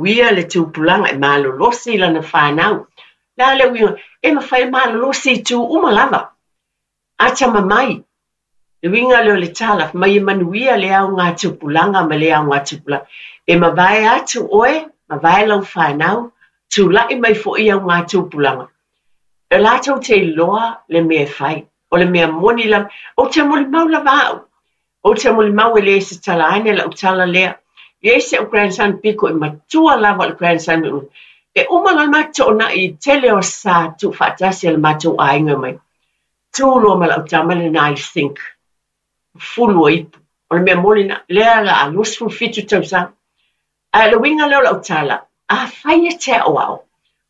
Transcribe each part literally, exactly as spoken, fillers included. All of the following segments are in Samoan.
manuia le tupulaga e malolosi i lana fanau. O le a le uiga? E mafai ona malolosi i itu uma lava. Atamamai. Le uiga lea o le tala, fai mai e manuia le augatupulaga ma le augatupulaga. E mavae atu oe, mavae lau fanau, tulai mai foi augatupulaga. E latou te iloa le mea e fai. O le mea moni lava. Ou te molimau lava au. Ou te molimau e le se tala ane lau tala lea. E i ai si au grandson pito i matua lava o le grandson. E uma loa le matou toonai i tele o sa tuufaatasi a le matou aiga mai. Tu loa ma lau tama lena i le sink. Fulu o ipu. O le mea moni lena. Lea o le a luasefulu fitu tausaga. Ae o le uiga lea o lau tala, afai e te aoao,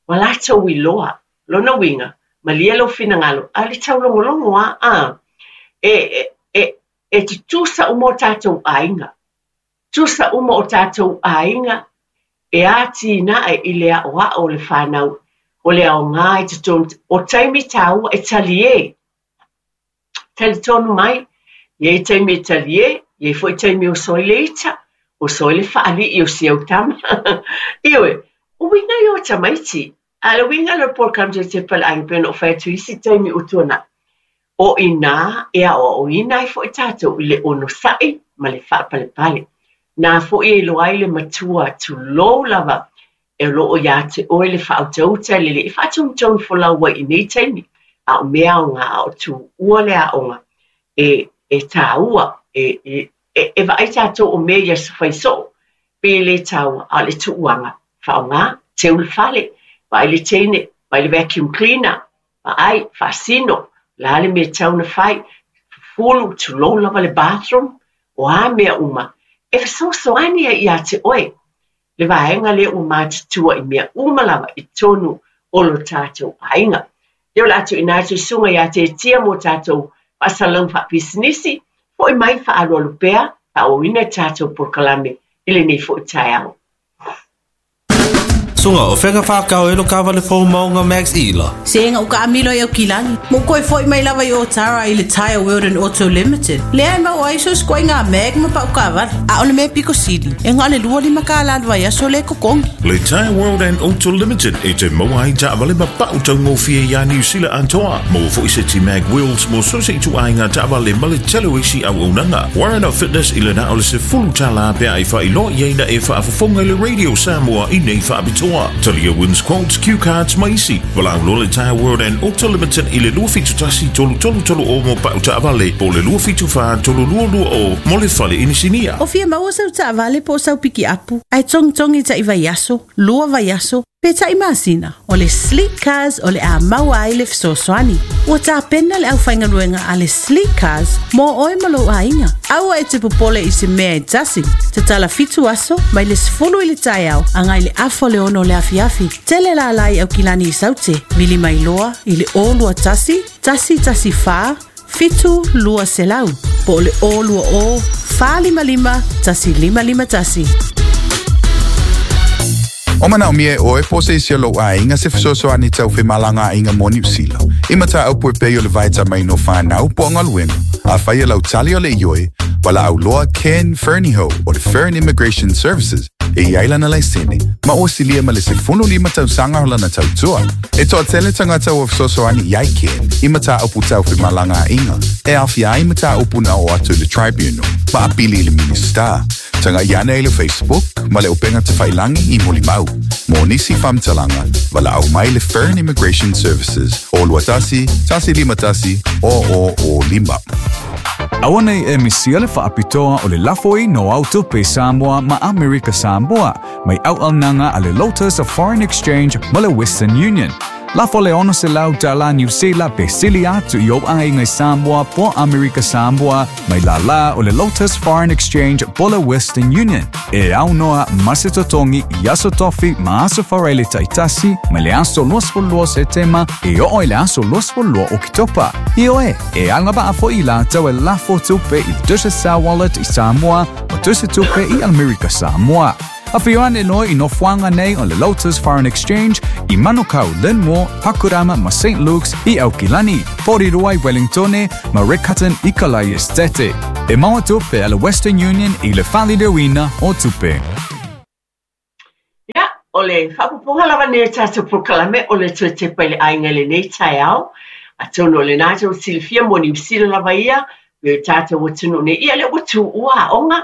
ua latou iloa. Lona uiga, malie lou finagalo, a o le taulogologo lava, a, e, e, e, e tutusa uma o tatou aiga. Tutusa uma o tatou aiga e atinae i le aoao o le fanau, o le aoga i totonu, o taimi taua e talie. Talitonu mai, e i ai taimi e talie, e i ai foi taimi e oso ai le ita, oso ai le faalii o si au tama. Ioe, o uiga ia o tamaiti. A o le uiga lea o le polokalame tepa le aiga pei ona ou fai atu i isi taimi ua tuanai. O i ina e aoaoina ai foi tatou i le onosai ma le faapalepale. Na foi e iloa ai le matua tulou lava e o lo o ia te oe le faautauta e lelei e faatonutonu folau ai i nei taimi. A o mea aoga a o tuua le aoga e, e taua, e, e, e, e vaai tatou o mea ia fai soo, pe le taua, a o le tuuaga, faaaoga, teu le fale, vaai le teine, vaai le vacuum cleaner, vaai, faasino, o le a le mea e tatau ona fai, fufulu, tulou lava le bathroom, o a mea uma, e fesoasoani ai ia te oe. Le vaega lea ua matutua i mea uma lava i totonu o lo tatou aiga. Ia o le a tuuina atu i susuga ia Tetia mo tatou faasalalauga faapisinisi, foi mai faaalualu pea, faaauauina le tatou polokalame i lenei foi taeao. Suga, o fea ka whakao e lo kawale fou maunga Max Ila? Se nga uka amilo i Aukilani. Mo koe foi mai lava i Otara i le Tire World and Auto Limited. Lea e mau ai so skoe ngā mag ma pau kawale. A o le mea piko sili. E ngā le lua lima ka la vai aso le kokongi. Le Tire World and Auto Limited e te maua ai taavale ma pau taugofie ia Niu Sila atoa. Maua foi seti mag wheels mo so se itu ai ngā taavale ma le tele o isi auaunaga. Warren of Fitness i le na o le sefulu tālā pea e whailoa i aina e whaafafonga i le Radio Samoa i nei whaapitoa. Talia wins quotes, cue cards ma isi. Valaau loa le Tire World and Auto Limited i le lua fitu tasi tolu tolu tolu o mo pau taavale po o le lua fitu fa tolu lua lua o mo le fale inisinia. O fia maua sau taavale po o sau pikiapu. Ai tongitongi ta'i vaiaso, lua vaiaso, pe ta'i masina. O le Sleek Cars o le a maua ai le fesoasoani. Ua tapena le aufaigaluega a le Sleek Cars mo oe ma lou aiga. Aua e te popole i se mea e tasi. Tatala fitu aso mai le sefulu i le taeao agai le afa o le ono o le afiafi. Tele lala i Aukilani i Saute. Vili mai loa i le o lua tasi, tasi tasi fa, fitu lua selau. Po o le o lua o, fa lima lima, tasi lima lima tasi. O manaomia e oe po o se isi o lou aiga se fesoasoani tau femalagaaiga mo Niu Sila. I mataupu e pei o le vaetamaina o fanau po o galuega. Afai o lau tali o le ioe, valaau loa Ken Fernihough o le Fern Immigration Services e i ai lana laisene ma ua silia ma le sefulu lima tausaga o lana tautua. E toatele tagata ua fesoasoani i ai Ken i mataupu tau femalagaaiga e aofia ai mataupu na oo atu i le Tribunal ma apili i le Minisita. Tagai ane i le Facebook ma le upega tafailagi i molimau. Mo nisi faamatalaga, valaau mai le Fern Immigration Services o lua tasi, tasi lima tasi, o o o lima. Aua nei e misia le faapitoa o le lafoina o au tupe Samoa ma Amerika Samoa mai auaunaga a le Lotus of Foreign Exchange ma le Western Union. Lafo le ono selau tālā Niu Sila pe sili atu i ou aiga i Samoa po o Amerika Samoa mai lālā o le Lotus Foreign Exchange po o le Western Union. E aunoa ma se totogi i aso tofi ma aso faraile taitasi mai le aso luasefulu lua o Setema e oo i le aso luasefulu lua o Oketopa. Ioe, e agavaa foi i latou e lafo tupe i le Digicel Wallet i Samoa ma tusitupe i Amerika Samoa. Afio ane loa i nofoaga nei o le Lotus Foreign Exchange i Manukau, Linmore, Pakurama ma Saint Luke's i Aukilani, Porirua i Wellingtone ma Riccarton i Kalai Estate. E maua tupe a le Western Union i le faaliliuina o tupe. Ia, O le faaopoopoga lava lenei o tatou polokalame o le toe tepa i le aiga i lenei taeao. Atonu o lena tou te silafia mo Niu Sila lava ia, me o tatou atunuu nei, ia lea ua tuua aoga.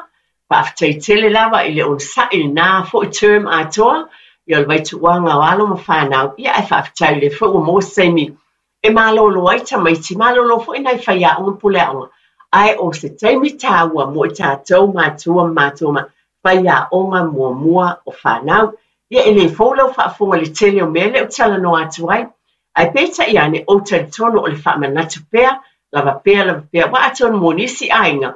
Faafetai tele lava i le onosai i lena foi term atoa, ia o le vaituuaga o alo ma fanau, ia ae faafetai o lea foi ua maua se taimi e malolo ai tamaiti, malolo foi nai faiaoga ma puleaoga, ae o se taimi taua mo i tatou matua ma matua ma faiaoga muamua o fanau. Ia e le fou lau faafofoga i le tele o mea lea ou te talanoa atu ai, ae peitai ane ou talitonu o le faamanatu pea, lava pea lava pea, aua atonu mo nisi aiga,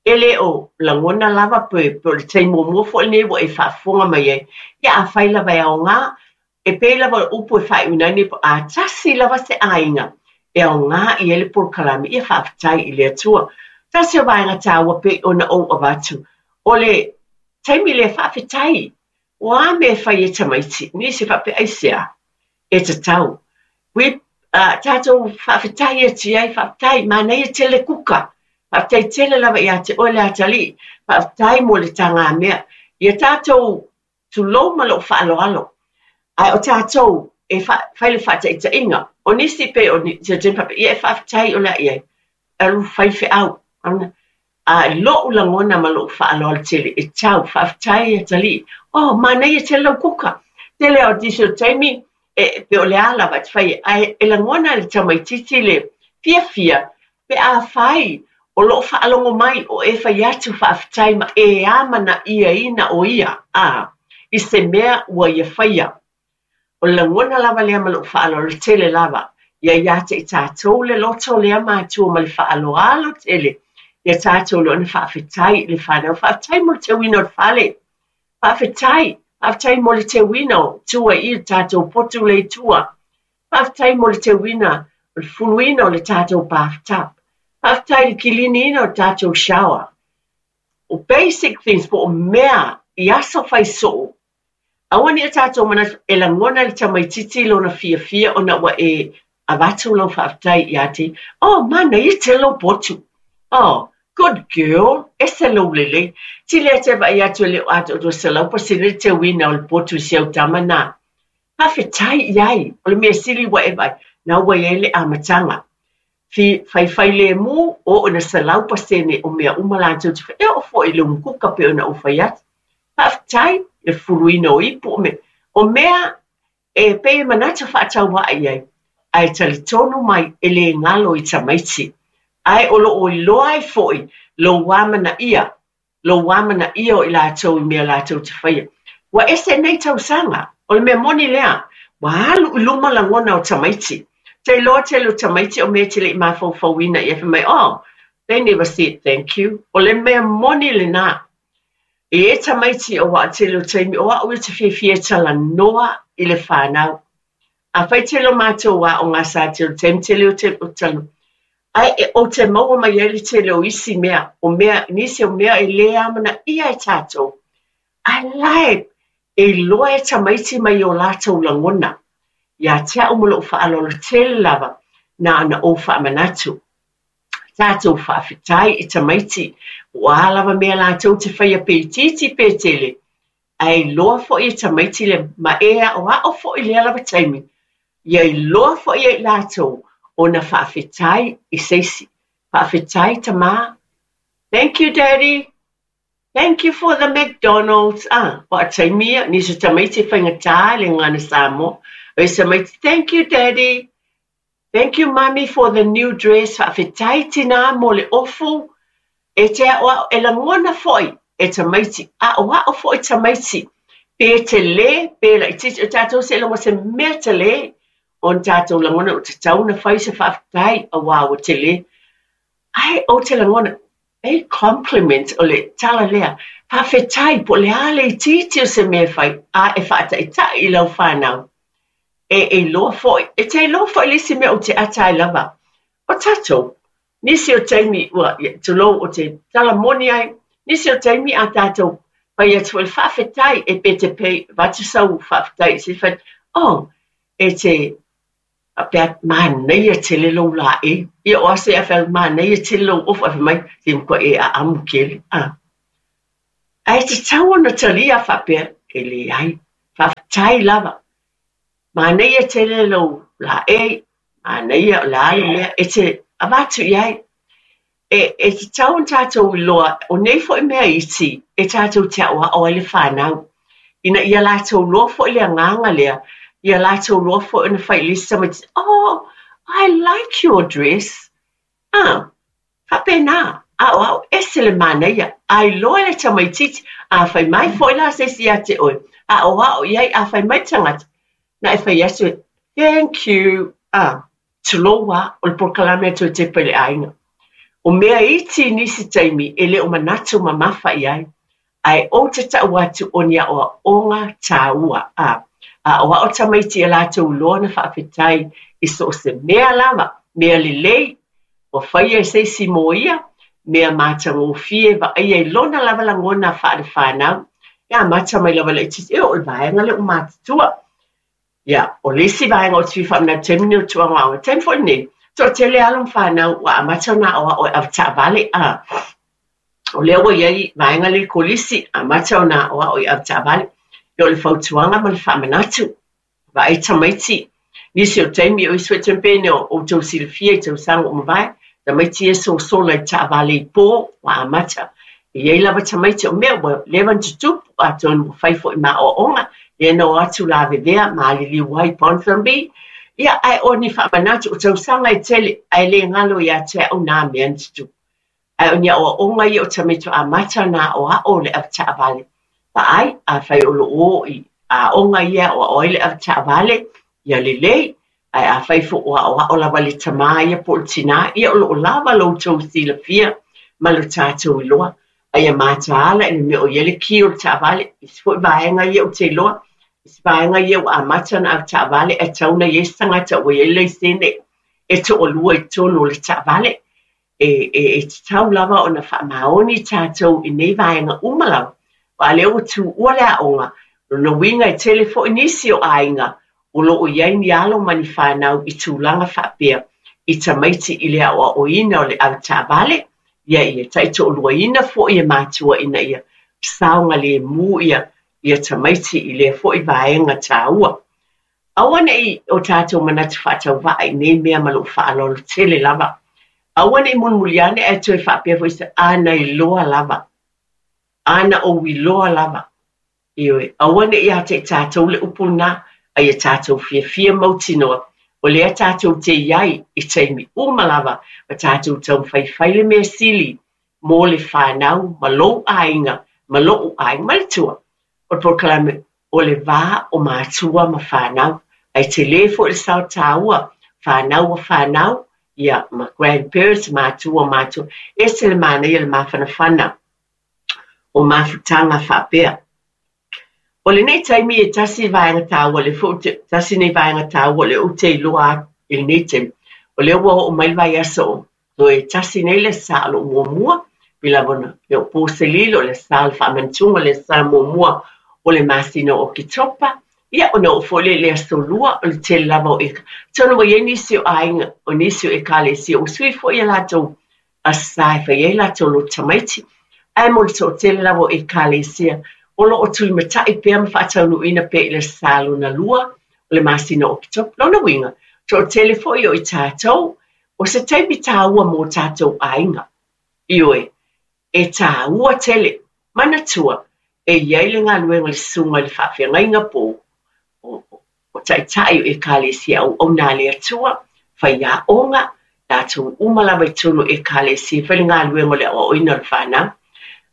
e le o lagona lava pe, pe o le taimi muamua foi lenei ua e faafofoga mai ai. Ia afai lava e aoga, e pei lava o le upu e faaiuina ai nei, a tasi lava se aiga e aoga i ai le polokalame, ia faafetai i le Atua. Tasi o vaega taua pei ona ou avatu, o le taimi lea faafetai, o a mea e fai e tamaiti, nisi faapea aisea, e tatau. We, uh, tatou faafetai atu i ai, faafetai, manaia tele kuka, faafetai tele lava ia te oe le atalii, faafetai mo le tagamea. Ia tatou tulou ma lou faaaloalo, ae o tatou e fai le faataitaiga, o nisi pei o se taimi faapea, ia e faafetai o le a i ai, alu fai feau. A i lou lagona ma lou faaaloalo tele, e tau, faafetai atalii, oh, manaia tele lau kuka. Tele o nisi o taimi, e, pe o le a lava e te fai, ae e lagona e le tamaitiiti le fiafia, pe afai o loo faalogo mai o e fai atu faafetai ma e amanaiaina o ia, a, i se mea ua ia faia. O le lagona lava lea ma lou faaaloalo tele lava, ia ia te i tatou le loto lea matua ma le faaaloalo tele, ia tatou le ona faafetai i le fanau, faafetai mo le teuina o le fale, faafetai, faafetai mo le teuina o tua i le tatou potu le i tua, faafetai mo le teuina o le fuluina o le tatou bathtub, faafetai i le kiliniina o le tatou shower. O basic things po o mea i aso fai soo, aua ne i o tatou manatu e lagona e le tamaitiiti lona fiafia ona ua e avatu lau faafetai ia te, oh, manaia tele lou potu. Oh, good girl, ese lou lelei. Tili a te vaai atu e le o atoatoa selau pasene le teuina o le potu i si au tama nā. Faafetai i ai, o le mea sili ua e vaai, na ua i ai le amataga. Fi, faifai lemu, o ona selau pasene o mea uma latou te fai, e oo foi i le umukuka pei ona ou fai atu. Faafetai, le fuluina o ipu o mea. O mea e pei e manatu faatauvaa i ai, ae talitonu mai e le galo i tamaiti. Ae o loo iloa ai foi lou amanaia, lou amanaia o i latou i mea latou te faia. Ua ese nei tausaga, o le mea moni lea, ua alu i luma lagona o tamaiti. Te iloa tele o tamaiti o mea e te le i mafaufauina ia fai mai, oh, they never said thank you. O le mea moni lena. E e tamaiti o waa tele o taimi, o au ia te fiafia e talanoa i le fanau. Afai tele o matou aoga sa tele o taimi tele o te o talanoa. Ae e ou te maua mai ai le tele o isi mea, o mea, nisi o mea e le amanaia e tatou. Ae la e, e iloa e tamaiti mai o latou lagona. Ia te au ma lou faaaloalo tele lava, na ona ou faamanatu. Tatou faafetai i tamaiti, o a lava mea latou te faia pe itiiti pe tele. Ae iloa foi e tamaiti le ma e aoao foi lea lava taimi. Ia iloa foi e i latou ona faafetai i se isi. Faafetai tamā. Thank you, Daddy. Thank you for the McDonald's. Ah, o a taimi ia, nisi o tamaiti e faigata le gagana Samoa. O isi tamaiti, thank you, Daddy. Thank you, Mommy, for the new dress. Faafetai tinā mo le ofu. E te aoao, e lagona foi e tamaiti. Aoao foi tamaiti. Pe tele, pe laitiiti. O tatou se iloga se mea tele. Ona tatou lagona o tatau ona fai se faafetai auā ua tele. Ae ou te lagona, e compliment o le tala lea. Faafetai po o le a le itiiti o se mea e fai, a e faataitai i lau fanau. E e iloa foi, e te iloa foi le isi mea ou te ata ai lava. O tatou, nisi o taimi ua, tulou, o te tala moni ai, nisi o taimi a tatou fai atu foi le faafetai e pe te pei avatu sau faafetai i se fai, oh, e te faapea manaia tele lou laei. Ia o ase a fai manaia tele lou ofu, ae fai mai, te matua e aamu kele. Ah. Ae tatau ona talia faapea, e leai. Faafetai lava. Manaia tele lou laei, manaia o le a le mea e te avatu i ai. E, e tatau ona tatou iloa, o nei foi mea iti e tatou te aʻoaʻo ai le fanau. Ina ia latou iloa foi le agaga lea, ia latou iloa foi ona fai i le isi tamaiti, "Oh, I like your dress." Ah, faapena, aʻoaʻo ese le manaia. A iloa le tamaitiiti, a fai mai foi la se isi ia te oe, aʻoaʻo i ai, a fai mai le tagata, na e fai atu, "Thank you." Ah, tulou lava, o le polokalame a toe tepa i le aiga. O mea iti i nisi taimi e le o manatu mamafa i ai. Ae ou te tau atu o ni aʻoaʻoga tāua. A, aʻoaʻo tamaiti ia latou iloa ona faafetai i so o se mea lava, mea lelei, ua faia e se isi mo ia, mea matagofie vaaia i lona lava lagona faale-fanau. E amata mai lava laitiiti, e oo i le vaega lea ua matutua. Ia, o le isi vaega ou te fia faamanatu taimi nei o tulaga aoga, taimi foi lenei, toatele alo ma fanau ua amata ona aʻoaʻo e avetaavale. A, o lea ua i ai vaega lea i kolisi, amata ona aʻoaʻo i avetaavale. Ia o le fautuaga ma le faamanatu. Vaai tamaiti, nisi o taimi o isi foi taimi pei ona outou silafia i tausaga ua mavae, tamaiti ia sosola i taavale i po, ua amata. E i ai lava tamaiti o mea ua leva ona tutupu, atonu ua fai foi ma aʻoaʻoga, lea na o atu lavevea ma aliliu ai i Ponsonby. Ia, ae o ni faamanatu, o tausaga e tele, ae le galo ia te au nā mea na tutupu. Ae o ni aʻoaʻoga ia o tamaiti amata ona aʻoaʻo le avetaavale. Vaai, afai o loo o i aoga ia e aʻoaʻo ai le avetaavale, ia lelei. Ae afai foi ua aʻoaʻo lava le tamā ia po o le tinā, ia o loo lava lo outou silafia ma lo tatou iloa. A ia mataala i le mea o i ai le ki o le taavale. Isi foi vaega ia ou te iloa, isi vaega ia ua amata ona avetaavale ae tatau ona i ai se tagata ua i ai le laisene e toalua i totonu o le taavale. E, e, e tatau lava ona faamaoni tatou i nei vaega uma lava. Aua lea ua tuua le aoga, lona uiga e tele foi nisi o aiga o loo i ai ni alo ma ni fanau i tulaga faapea i tamaiti i le aʻoaʻoina o le avetaavale, ia ia taitoaluaina foi e matua ina ia saogalemu ia ia tamaiti i lea foi vaega tāua. Aua nei o tatou manatu faatauvaa i nei mea ma lou faaaloalo tele lava. Aua nei mulimuli ane ae toe faapea foi se a na iloa lava. A na ou iloa lava. Ioe, aua nei ia te i tatou le upu lena, a ia tatou fiafia mautinoa. O lea tatou te i ai i taimi uma lava, ma tatou taumafai le mea sili mo le fanau ma lou aiga, ma lou aiga, ma le tua. O le polokalame o le va o matua ma fanau. Ae tele foi le sao tāua, fanau o fanau, ia ma grandparents, matua matua. Ese le manaia le mafanafana o mafutaga faapea. O lenei taimi e tasi vaega tāua, le foi te, tasi nei vaega tāua le ou te iloa atu i lenei taimi. O lea ua oo mai le vaiaso o toe tasi nei le sa o lou muamua, pei lava ona le o po se lilo, le sa o le faamanatuga, le sa muamua o le masina o Oketopa. Ia, ona oo foi lea i le aso lua, o le tele lava o eka. Atonu ua i ai nisi o aiga, o nisi o ekalesia, ua sui foi ia latou aso sa e fai ai latou lotu tamaiti. Ae mo le toatele lava o ekalesia, o loo tulimatai pea ma faataunuuina pea i le sa lona lua o le masina o Oketopa. Lona uiga, toatele foi o i tatou, o se taimi tāua mo tatou aiga. Ioe, e tāua tele, manatua, e i ai le galuega le susuga i le faafeagaiga po o, o taitai o ekalesia auauna a le Atua, faiaoga, latou uma lava i totonu o ekalesia, fai le galuega o le aʻoaʻoina o le fanau.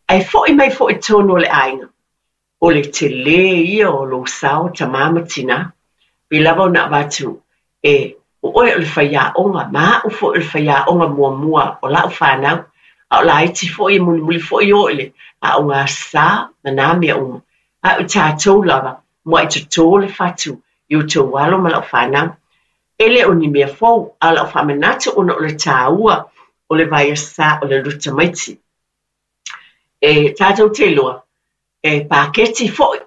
Ae foi mai foi i totonu o le aiga, o le tele ia o lou sao tamā ma tinā. Pei lava ona avatu e o oe o le faiaoga, ma au foi o le faiaoga muamua o lau fanau. A o laiti foi e mulimuli foi o i le aoga sa ma nā mea uma. A o tatou lava, muaʻi totō le fatu i outou alo ma lau fanau. E le o ni mea fou, a o lau faamanatu ona o le tāua o le vaiaso o le lotu tamaiti. E tatou te iloa, e paketi foi,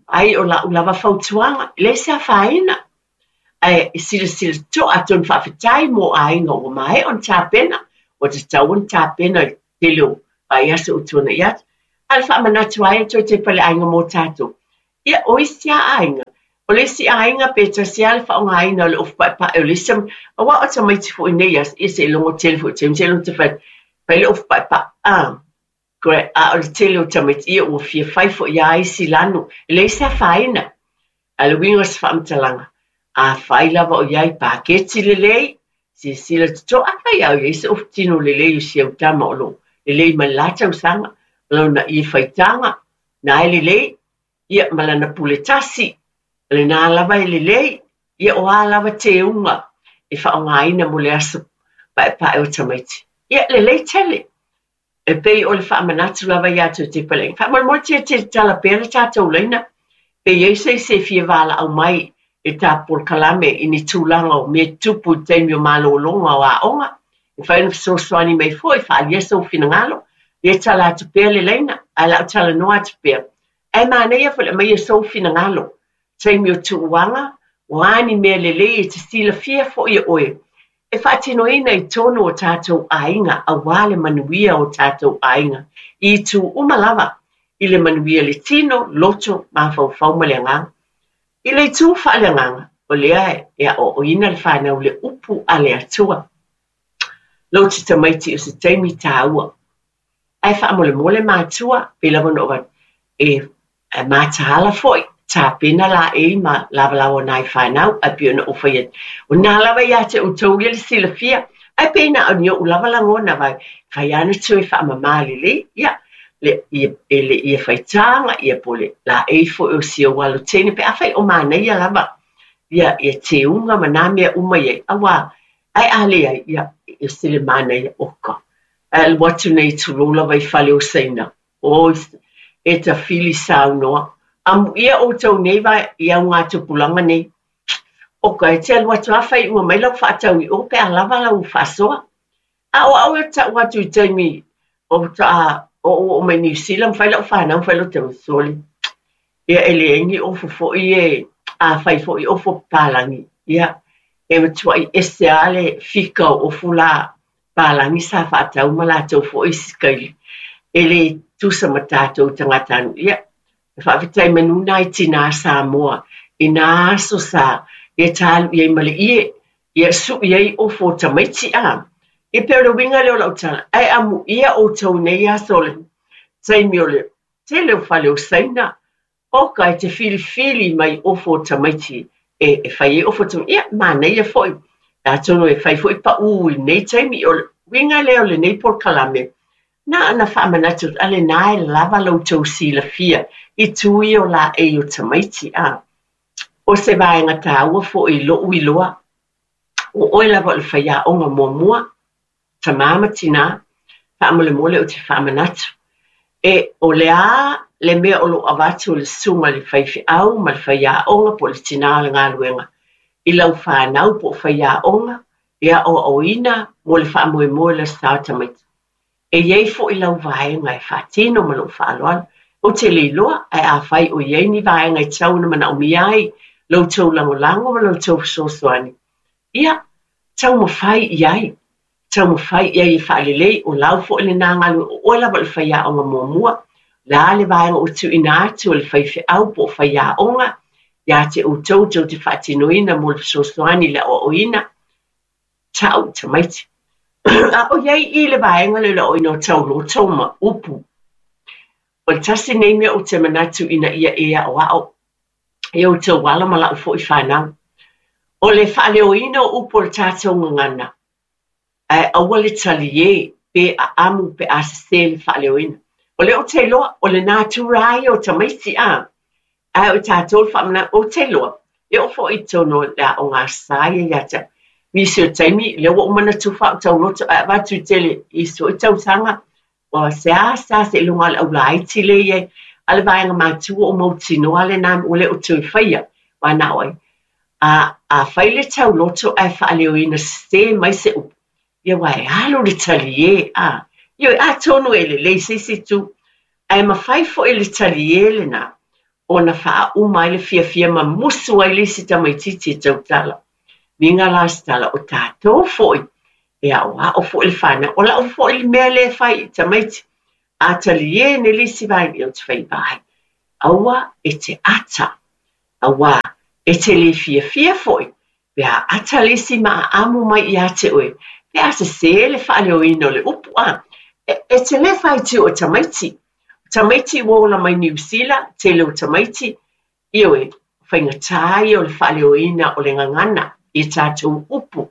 ai o lau lava fautuaga, e leai se afaina. Ae silasila totoa atonu faafetai mo aiga ua maea ona tapena, ua tatau ona tapena i le tele o vaiaso ua tuanai atu. A o le faamanatu ai e toe tepa le aiga mo tatou. Ia, o isi lava aiga, o le isi aiga pe tasi lava le faaaogaina o le ofu paepae o le isi aua o tamaiti foi nei aso, ia seiloga tele foi taimi seiloga te fai fai le ofu paepae a. A o le tele o tamaiti ia ua fia fai foi lava isi lanu, e leai se afaina. Ae o le uiga o se faamatalaga, afai lava o i ai paketi lelei, silasila totoa, afai lava o i ai se ofu tino lelei o si au tama o lo o lelei mai le la tausaga, ma lona ie faitaga, na e lelei, ia ma lana pule tasi, o lena lava e lelei, ia o a lava teuga e faaaogaina mo le aso paepae o tamaiti. Ia, lelei tele. E pei o le faamanatu lava ia te outou paleauga. Faamolemole tia te tala pea le tatou laina, pe i ai se isi e fia valaau mai i le ta polokalame i ni tulaga o mea tutupu i le taimi o malologa o aoga, e mafai ona fesoasoani mai foi e faaalia sou finagalo, ia tala atu pea le laina, ae o le a ou talanoa atu pea. Ae manaia foi le aumaia o sou finagalo, taimi o tuuaga, o a ni mea lelei e te silafia foi e oe, e faatinoina i totonu o tatou aiga aua le manuia o tatou aiga i itu uma lava, i le manuia le tino, loto, mafaufau ma le agaga. I le itu faaleagaga, o lea e aoaoina le fanau i le upu a le Atua. Lou te tamaiti o se taimi taua. Ae faamolemole matua, pei lava ona ou avatu, e mataala foi, tapena laei ma lavalava o nai fanau, ae pei ona ou fai atu, o lena lava ia te outou ia le silafia, ae pei na o ni ou lava lagona vai, fai lava ona toe faamama lelei, ia, le, ia, e le ia faitaga, ia po o le laei foi o si ou alo teine, pe afai o manaia lava, ia, ia teuga ma nā mea uma i ai, aua, ae a leai, ia, e ese le manaia, oka, ae alu atu nei tulou lava i fale o Saina, oi, e tafili saunoa, amuia outou nei va i augatupulaga nei, oka, e te alu atu lava faaiuga mai lau faatau i o pe a lava lau faasoa. A o au e tau atu i taimi o faatoa oo oo mai Niu Sila ma fai lau fanau ma fai lau tama, sole, ia e leai ni ofu foi e, a fai foi ofu o papalagi, ia e matuai ese lava le fika o ofu la papalagi sa faatau ma latou foi isi kaili, e le tusa ma tatou tagatanuu. Ia, e faafetai manu nai tinā Samoa i nā aso sa ia talu i ai ma le ie, ia sui ai ofu o tamaiti a. Ia pei o le uiga lea o lau tala, ae amuia outou nei aso o le taimi o le tele o fale o Saina, oka e te filifili mai ofu o tamaiti e, e fai ai ofu o tamaiti. Ia, manaia foi, atonu e fai foi paū i lenei taimi. O le uiga lea o lenei polokalame, na ona faamanatu atu, a lena e lava la outou silafia i tu ia o laei o tamaiti a. O se vaega taua foi i lou iloa, o oe lava o le faiaoga muamua, tamā ma tinā, faamolemole ou te faamanatu. E o le a le mea o lo o avatu e le susuga i le faifeau ma le faiaoga po o le tinā o le galuega i lau fanau po o faiaoga e aoaoina mo le faamoemoe o le Aso Sa o tamaiti. E i ai foi lau vaega e faatino ma lou faaaloalo. Ou te le iloa, ae afai o i ai ni vaega e tatau ona manaomia ai lo outou lagolago ma lo outou fesoasoani, ia, taumafai i ai. Taumafai i ai e faalelei, o lau foi lena galuega, o oe lava o le faiaoga muamua, o le a le vaega ua tuuina atu e le faifeau po o faiaoga ia te outou tou te faatinoina mo le fesoasoani i le aoaoina, tau i tamaiti. A o i ai i le vaega lea o le aoaoina o tauloto ma upu, o le tasi nei mea ou te manatu ina ia e aoao e outou alo ma lau foi fanau, o le faaleoina o upu o le tatou gagana, ae aua le taliē pe aamu pe a sesē le faaleoina. O lea ou te iloa, o le natura ia o tamaiti a, ae o tatou le faamanatu, ou te iloa, e oo foi i totonu o le aoga sa ia ia te au. Nisi o taimi, lea ua ou manatu faautauloto ae avatu i tele i isi foi tausaga, ua seasea seiloga o le aulaiti lea e i ai, a le vaega matua o mautinoa lena ua le o toe faia, aua na o ai. A, a fai le tauloto ae faaleoina sesē mai se upu, ia aua e alu le taliē, a. Ioe, atonu e lelei i se isi itu, ae mafai foi le taliē lena ona faauma ai le fiafia ma musu ai le isi tamaitiiti e tautala. Miga la se tala, o tatou foi, e aoao foi le fanau. O lau foi le mea lea e fai i tamaiti, a taliē nei le isi vaega, ia ou te fai, vai. Aua e te ata, auā e te le fiafia foi pe a ata le isi ma aamu mai ia te oe, pe a sesē le faaleoina o le upu a. E, e te le faitio o tamaiti. O tamaiti ua ola mai Niu Sila, tele o tamaiti, ioe, faigata ia o le faaleoina o le gagana i tatou upu.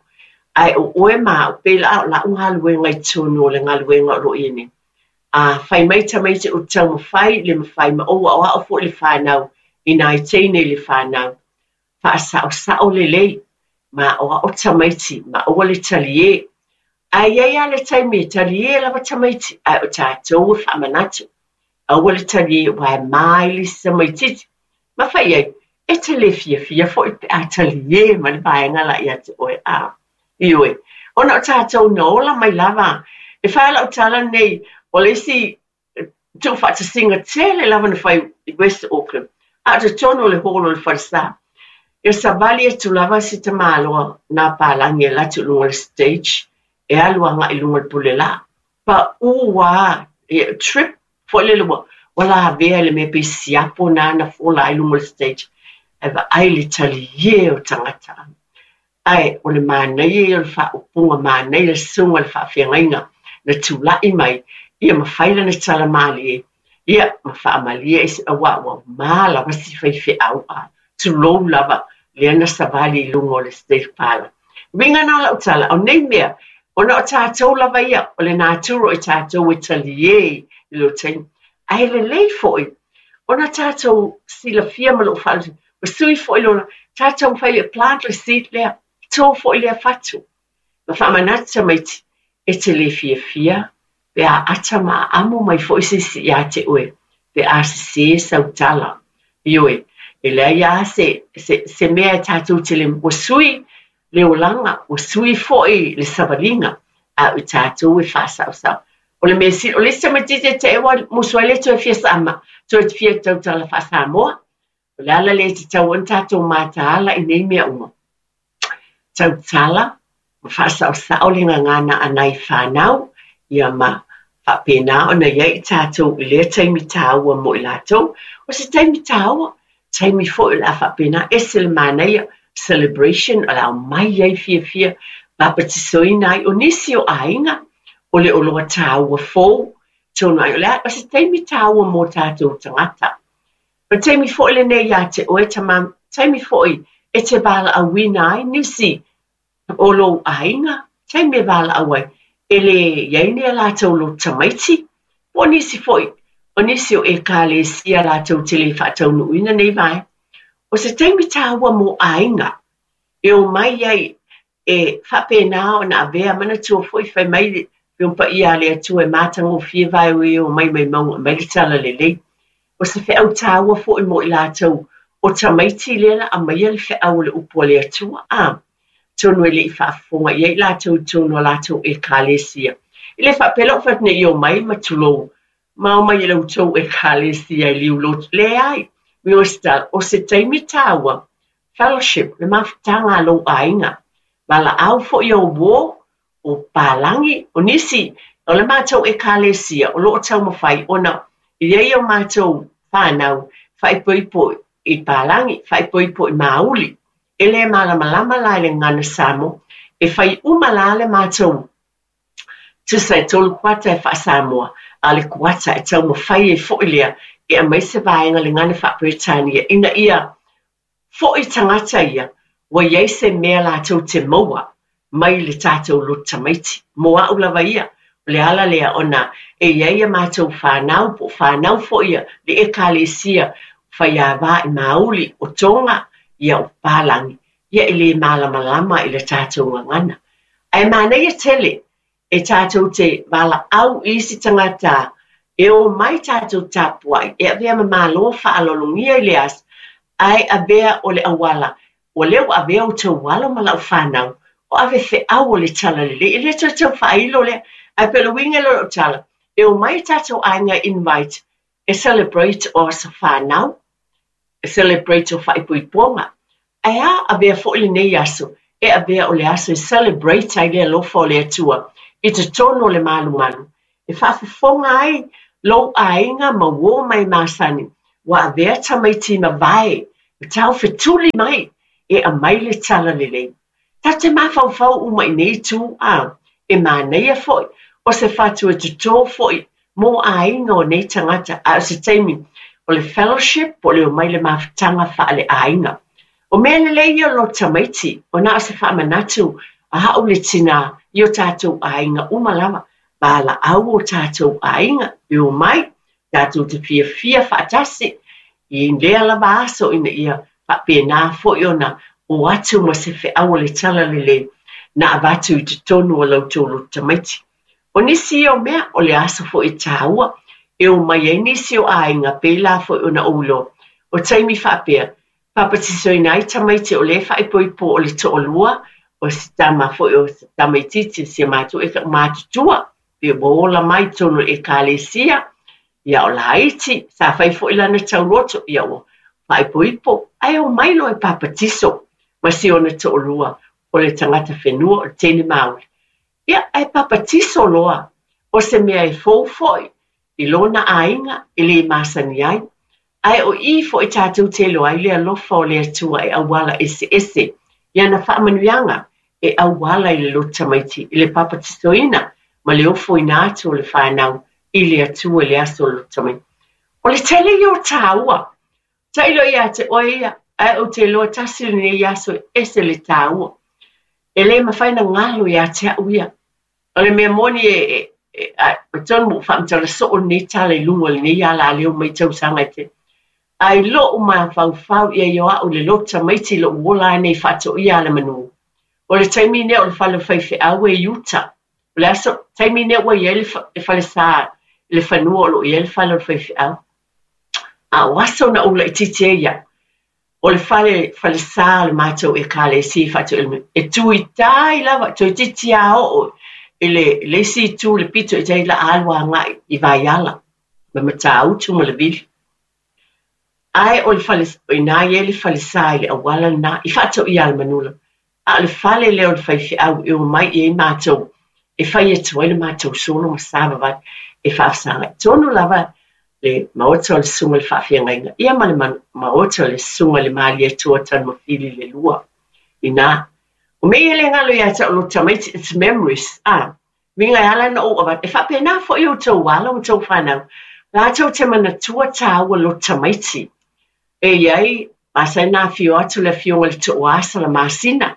Ae o oe ma au, pei la o lau galuega i totonu o le galuega o lo o i ai nei. A fai mai tamaiti o taumafai le mafai ma ou aoao foi le fanau i nai teine i le fanau. Faasaosao lelei, ma aoao tamaiti, ma aua le taliē. Ae i ai lava le taimi e taliē lava tamaiti, ae o tatou e faamanatu. Aua le taliē aua e ma ai le isi tamaitiiti. Ma fai ai, e te le fiafia foi pe a taliē mai le vaega la ia te oe a. Ioe, ona o tatou na ola mai lava. E fai lau tala lenei, o le isi tuufaatasiga tele lava na fai i West Auckland, a o totonu o le hall o le falesa. Ia savali atu lava si tamaloa nā palagi e alu atu i luga o le stage, e alu agai i luga o le pulelā. Pau lava, trip foi lele ua ua lavea i le mea pei siapo na na fola ai luga o le stage. Ae vaai le taliē o tagata. Ae o le manaia ia o le faaupuga, manaia le susuga i le faafeagaiga na tulai mai, ia ma fai lana tala malie, ia ma faamalie i se auā ua ma lava si faifeau a tulou lava lea na savali i luga o le stage pala. Uiga na o lau tala, o nei mea, ona o tatou lava ia, o le natura o i tatou e taliē i lo taimi. Ae lelei foi, ona tatou silafia ma lou faalogo, ma sui foi le ola, tatou mafai le plant le seed lea, to foi lea fatu. Ma faamanatu tamaiti, e te le fiafia, pe a ata ma aamo mai foi se isi ia te oe, pe a sesē sau tala. Ioe, e leai lava se, se, se mea e tatou te le, ua sui le olaga, ua sui foi le savaliga, a o i tatou e faasaosao. O le mea sili, o le isi tamaitiiti e te ua musu ai le toe fia sama, toe fia tautala faa-Samoa. O le ala lea e tatau ai ona tatou mataala i nei mea uma. Tautala ma faasaosao le gagana a nai fanau, ia ma faapena ona i ai i tatou i lea taimi tāua mo i latou. O se taimi tāua, taimi foi o le a faapena ese le manaia, celebration o le a omai ai fiafia, papatisoina ai o nisi o aiga, o le oloa tāua fou, tonu ai o le a, o se taimi tāua mo tatou tagata. O le taimi foi lenei ia te oe tama, taimi foi e te valaauina ai nisi o lou aiga, taimi e valaau ai, e le i ai ni a latou lotu tamaiti, po o nisi foi, o nisi o ekalesia latou te le faataunuuina nei vaega. O se taimi tāua mo aiga, e omai ai e faapena ona avea manatua foi fai mai le paia a le Atua e matagofie vae o e omai mai mauga mai le talalelei. O se feau tāua foi mo i latou o tamaiti lea la aumaia le feau o le upu a le Atua a. Tonu e le i faafofoga i ai latou i totonu o latou ekalesia. E le faapea lau fai atu nei i omai ma tulou, ma omai i la outou ekalesia i liulotu. Leai, o se taimi tāua, fellowship, le mafutaga a lou aiga. Valaau foi o uō, o palagi, o nisi, o le matou ekalesia, o lo o taumafai ona i ai o matou fanau, faaipoipo i palagi, faaipoipo i mauli. E le malamalama la i le gagana Samoa, e fai uma la le matou tusa e tolu kuata e faa-Samoa, a o le kuata e taumafai ai foi lea e aumai se vaega le gagana faa-Peretania ina ia foi tagata ia, ua i ai se mea latou te maua mai le tatou lotu tamaiti. Mo au lava ia, o le ala lea ona e i ai a matou fanau, po o fanau foi ia le ekalesia faiāvā i mauli o Toga, ia o palagi, ia e le malamalama i le tatou gagana. Ae manaia tele e tatou te valaau i isi tagata e omai tatou tapuai, e avea ma malo faaaloalogia i le aso, ae avea o le auala, ua lea ua avea outou alo ma lau fanau, o ave feau o le talalelei, e le toe tau faailo lea. Ae pei o le uiga lea o lau tala, e omai tatou aiga invite, e celebrate o aso fanau, e celebrate o faaipoipoga. Ae a avea foi lenei aso, e avea o le aso e celebrate ai le alofa o le Atua i totonu o le malumalu. E faafofoga ai lou aiga ma uō mai masani, Ua avea tamaiti mavae ma taufetuli mai e aumai le talalelei. Tatou te mafaufau uma i nei itu a e manaia foi o se fatu e totō foi mo aiga o nei tagata, a o se taimi o le fellowship po o le omai le mafutaga faaleaiga. O mea lelei ia o lo tamaiti, o na o se faamanatu a a'u le tinā i o tatou aiga uma lava, valaau o tatou aiga e omai tatou te fiafia faatasi i lea lava aso ina ia faapena foi ona o atu ma se feau o le talalelei na avatu i totonu o la outou loto tamaiti. O nisi ia o mea o le aso foi e taua e omai ai nisi o aiga pēlā foi ona ou iloa. O taimi faapea, papatisoina ai tamaiti o lea e faaipoipo o le toalua o se tama foi o se tamaitiiti o si a matou e matutua pe ua ola mai i totonu o le ekalesia, ia o laiti, sa fai foi lana tauloto, ia ua faaipoipo, ae omai loa e papatiso ma si ona toalua o le tagata whenua o le teine Māori. Ia, ae papatiso loa o se mea e fou foi i lona aiga e lē masani ai. Ae o i foi tatou te iloa ai le alofa o le Atua e auala eseese i ana faamanuiaga e auala i le loto tamaiti i le papatisoina ma le ofoina atu o le whanau i le Atua i le aso o le loto tamaiti. O le tele ia o tāua. Tailo ia te oe ia, ae ou te iloa tasi lenei aso e ese le tāua. E lē mafai ona galo ia te a'u ia. O le mea moni e, e, e, a, e tonu ua faamatala soo lenei tala i luga o lenei alaleo mai tausaga e tele. Ae lo'u mafaufau ia i o a'u le loto tamaiti i lo'u ola ai nei faatoia alamanu. O le taimi lea o le fale o faifeau e i uta. O le aso taimi lea ua i ai le, fa, le falesā i le fanua o loo i ai le fale o le faifeau. A o aso na ou laitiiti ai ia, o le fale falesā o le matou ekalesia i faatoia e tu i tai lava, toeitiiti lava oo i le, le isi itu le pito i tai la alu agai i Vaiala ma Matautu ma le Vili. Ae o le fale, o ina i ai le falesā i le auala lena i faatoia Alamanula. A o le fale lea o le faifeau e omai i ai matou e fai atu ai le matou solo ma savavali e faafesagai. Tonu lava le maota o le susuga i le faafeagaiga ia ma le maota o le susuga i le Malietoa Tanumafili le lua. Ina, o mea ia le galo ia te a'u loto tamaiti, it's memories. A, uiga e ala ona ou avatu. E faapena foi outou alo ma outou fanau. Latou te manatua tāua loto tamaiti. E i ai, masani ona afio atu le afioga i le Tooa Salamasina.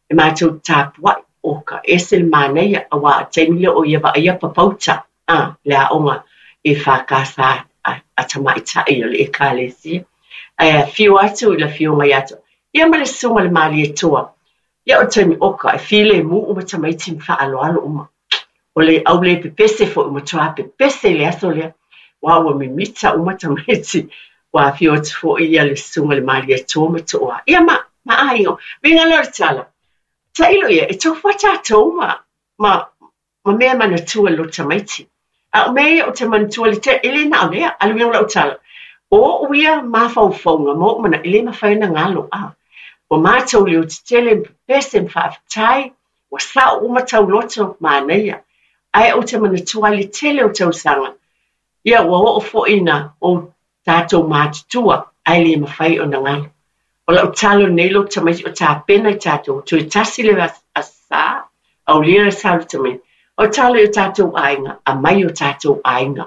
E matou tapuai o ka ese le manaia auā o taimi lea o ia vaaia papauta a le aoga e whakasa a, a tamaita'i o le ekalesia. Ae afio atu i le afioga ia te ia ma le susuga i le Malietoa. Ia o le taimi oka e filemu uma tamaiti ma faaaloalo uma. O le au le pepese foi ua matua pepese i le aso lea. Ua ua mimita uma tamaiti. Ua afio atu foi ia le susuga i le Malietoa ma Tooa. Ia ma, ma aiga. Uiga lea o le tala. Tailo ia, e tofu a tatou ma, ma, ma mea manatua i le loto tamaiti. A o mea ia ou te manatua le te, e le na o lea, a le uiga o lau tala. O o'u ia mafaufauga ma o'u mana, e lē mafai ona galo a. Ua matou leotetele ma pepese ma faafetai, ua sa'o uma tauloto manaia. Ae ou te manatua ai le tele o tausaga. Ia ua oo foi ina o tatou matutua, ae lē mafai ona galo. O lau tala lenei loto tamaiti o tapena i tatou, toe tasi le Aso Sa, aulia le sa o le tamaiti. O tala i o tatou aiga, aumai o tatou aiga.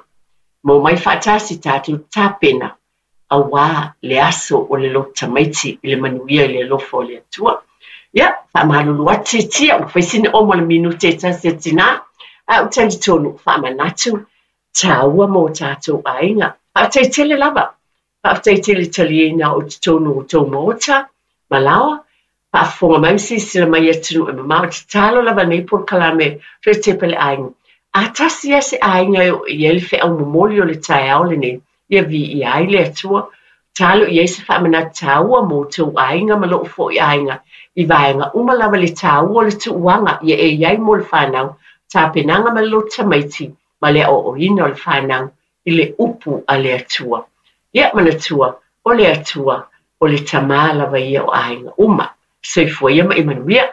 Ma omai faatasi tatou tapena auā le aso o le loto tamaiti i le manuia i le alofa o le Atua. Ia, faamalulu atu tiatia, ua fai sina omo o le minute e tasi a tinā, ae ou talitonu faamanatu tāua mo tatou aiga. Faafetai tele lava. Faafetai tele taliaina o totonu o tou maota, malaoa, faafofoga mai ma silasila mai i atunuu e mamao. Tatalo lava nei polokalame toe tepa le aiga. A tasi lava se aiga e oo i ai le feau momoli o le taeao lenei, ia viia ai le Atua. Talo i ai se faamanatu tāua mo outou aiga ma lou foi aiga i vaega uma lava le tāua o le tuuaga ia e i ai mo le whanau, tapenaga ma le loto tamaiti ma le aoaoina o le whanau i le upu a le Atua. Ia manatua, o le Atua, o le Tamā lava ia o aiga uma. Soifua ia ma ia manuia.